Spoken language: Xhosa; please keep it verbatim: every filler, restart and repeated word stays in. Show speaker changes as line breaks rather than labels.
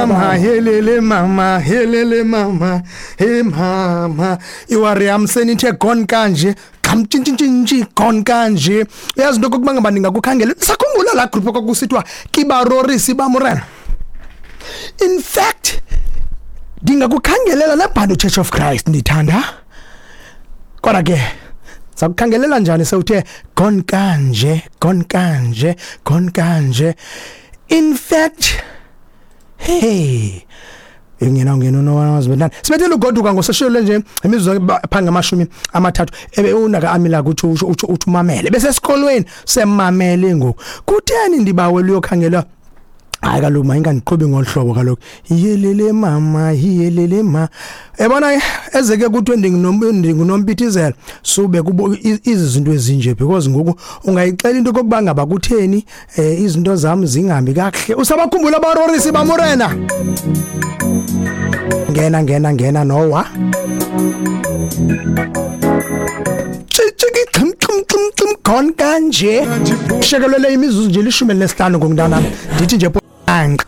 Mama, helele mama, helele mama, he mama. Iwari yam senithe gone kanje. Gam tshintshintshi gone kanje. Uyazi into kokuba ngaba ndingakukhangela. Sakhumbula la group kwakusithiwa Kibarorisi bamurena. In fact, ndingakukhangelela nebhando Church of Christ ndithanda. Kodwa ke sakukhangelela njani sewuthe gone kanje, gone kanje, gone kanje. In fact, hey, ingena ungena unowazi bentana sibethele ugoduka ngoseshelo nje imizuzu phambi ngamashumi amathathu ebe unaka amila kuthi usho uthi uthi umamele bese esikolweni semamele ngoku kutheni ndibawela uyokhangela. Hayi kaloku mayingandiqhubi ngolu hlobo kaloku. Yelele mama, yelele ma. Ebona ezeke kuthiwe ndingunompithizelo sube kubo izinto ezinje because ngoku ungayixela into kokuba ngaba kutheni eh, izinto zami zingahambi kakuhle. Usabakhumbula abarorisi bamurena. Ngena ngena ngena nowa. Chiki xim xim xim xim gone kanje. Shekelele imizuzu nje lishumi elinesihlanu ngomntanami. Ndithi nje anqe.